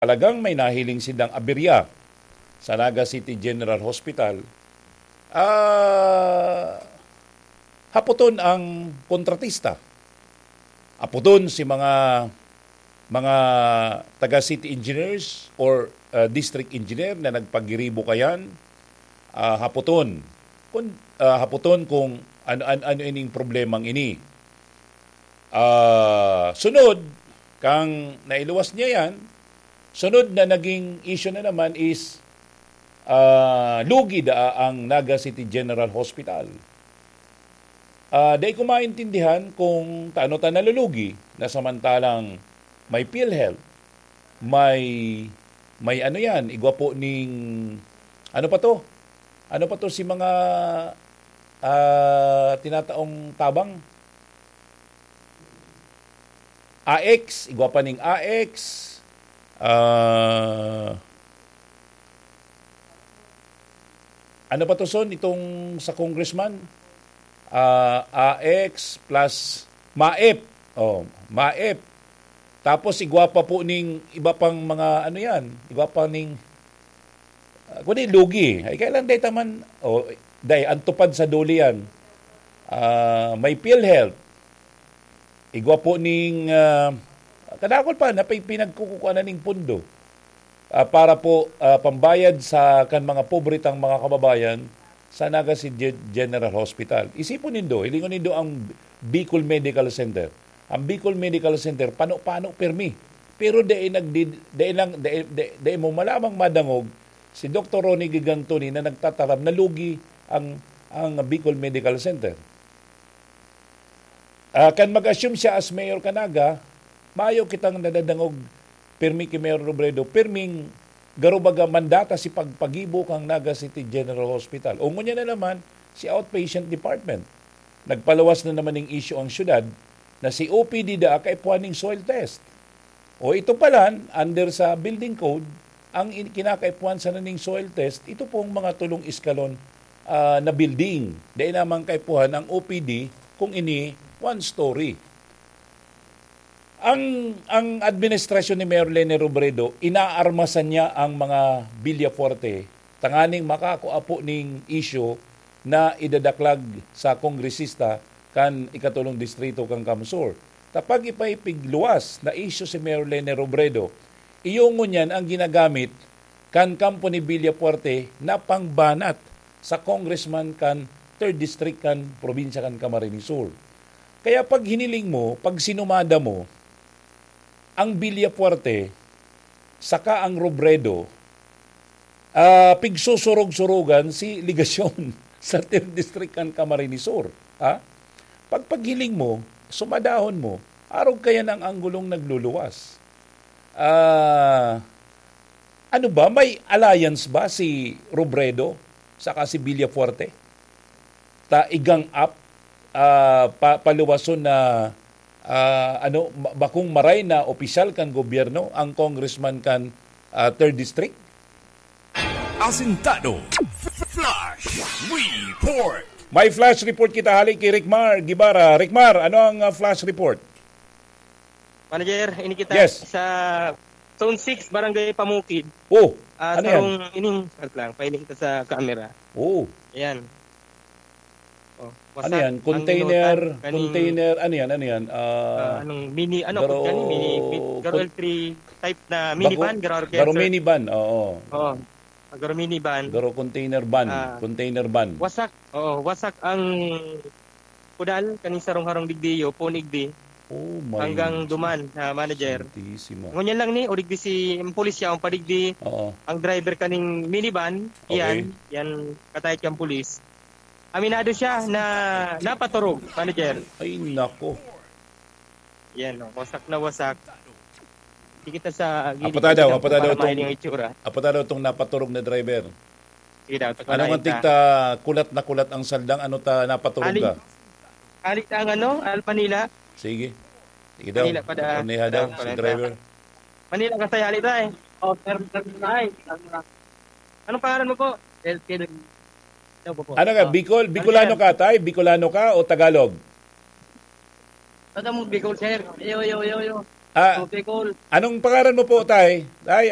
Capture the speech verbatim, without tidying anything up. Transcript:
talagang may nahiling silang aberya sa Naga City General Hospital, ah, hapoton ang kontratista. Hapoton si mga, mga taga city engineers or, ah, district engineer na nagpagiribo kayan, ah, hapoton. Kun, ah, hapoton kung ano, ano, ano ining problemang ini. Ah, sunod, kang nailuwas niya yan, sunod na naging issue na naman is, ah, lugi daa ang Naga City General Hospital. Ah, dai ko maintindihan kung taano ta nalulugi na samantalang may PhilHealth, may, may ano yan, igwa po ning, ano pa to? Ano pa to si mga, ah, tinataong tabang? A X, igwa pa ning A X, ah, ano pa to, Son, itong sa congressman? Ah, A X plus MAEP. Oh, MAEP. Tapos igwa pa po ning iba pang mga ano yan, igwa pa ning, ah, kundi lugi. Ay, kaya lang dahil taman, oh, dahil ang tupad sa duli yan, ah, may PhilHealth. Igwa po ning, ah, kadakol pa na pay-, pinagkukukuhanan ning pundo, ah, para po, ah, pambayad sa kan mga pobre tang mga kababayan sa Naga City General Hospital. Isipon nindo, hilingon nindo ang Bicol Medical Center. Ang Bicol Medical Center, pano-pano permi. Pero dai nagdi-, dai lang, dai, dai, dai mo malamang madangog si Doktor Ronnie Gigantoni na nagtataram na lugi ang, ang Bicol Medical Center. Ah, kan mag-assume siya as mayor kan Naga, mayo kitang nadadangog pirmi ki Mayor Robredo, pirming garo baga mandata si pagpagibo kan Naga City General Hospital. O ngunyan na naman, si outpatient department. Nagpaluwas na naman ning issue ang syudad na si O P D daa kaipuhan ning soil test. O ito pala, under sa building code, ang in-, kinakaipuhan sana ning soil test, ito pong mga tulong eskalon, ah, na building. Dai naman kaipuhan ang O P D kung ini one story. Ang, ang administrasyon ni Mayor Leni Robredo, inaarmasan niya ang mga Villafuerte tanganing makakua po ning isyu na idadaklag sa kongresista kan ikatulong distrito kan Camsur. Ta pag ipaipigluwas na isyu si Mayor Leni Robredo, iyo ngunyan ang ginagamit kan kampo ni Villafuerte na pangbanat sa congressman kan third District kan probinsya kan Camarines Sur. Kaya pag hiniling mo, pag sinumada mo, ang Villafuerte saka ang Robredo, ah, pigsusurog-surugan si Legacion sa third District kan Camarines Sur, ha? Pag paghiling mo, sumadahon mo, arog kayan ang anggulong nagluluwas. Ah, ano ba, may alliance ba si Robredo saka si Villafuerte? Ta igang up, ah, pa-, paluwason na, ah, ano, ma-, bakong maray na opisyal kan gobyerno ang congressman kan, ah, third District? Asintado. Flash Report. May flash report kita hali ki Rickmar Guevara. Rickmar, ano ang, ah, flash report? Manager, ini kita Yes. sa Zone six, Barangay Pamukid. Oh, Ah, ano yan? sarong ining, wait lang, pahiling kita sa camera. Oh. Ayan. Oh, Ano wasak yan? ang Container, inutan, kaning, container, ano yan? Ano yan? Ah, ah, anong mini, ano, garo, kani? Mini, mi-, garo con-, L three type na bako, minivan, garo, garo organza. Minivan, oo. Oo. Garo minivan. Garo container van, Ah, container van. wasak, oo, wasak ang kudal, kaning sarong harong digdi, iyo, puon igdi, Oh my hanggang duman, ah, manager. Santisima. Ngunyan lang ni, o digdi si, ang pulis siya, ang padigdi, Oo. ang driver kaning minivan, Okay. yan, yan, katayat kang pulis. Aminado siya na napaturog, manager. Ay, nako. Yan, oh, wasak na wasak. Di kita sa gilid, Apatadaw, dito apatadaw para tong, mahiling ang itsura. Apatadaw tong napaturog na driver. Sige daw, Ano nga tigta kulat na kulat ang saldang, ano ta napaturog Aling, ka? Aling ang ano, Al Manila. Sige. Sige daw. Manila pa daan. Ano niya daw, Daan pa si lang driver? Manila ka sa Yali, tay. Oh, sir, sir, tay. Anong pangalan mo po? Elkin. Ano po po? Ano ka, Ah, Bicol? Bicolano Manila. ka, tay? Bicolano ka o Tagalog? Taga mo, Bicol, sir. Yo, yo, yo, yo. Ah, Oh, Bicol. Anong pangalan mo po, tay? Tay,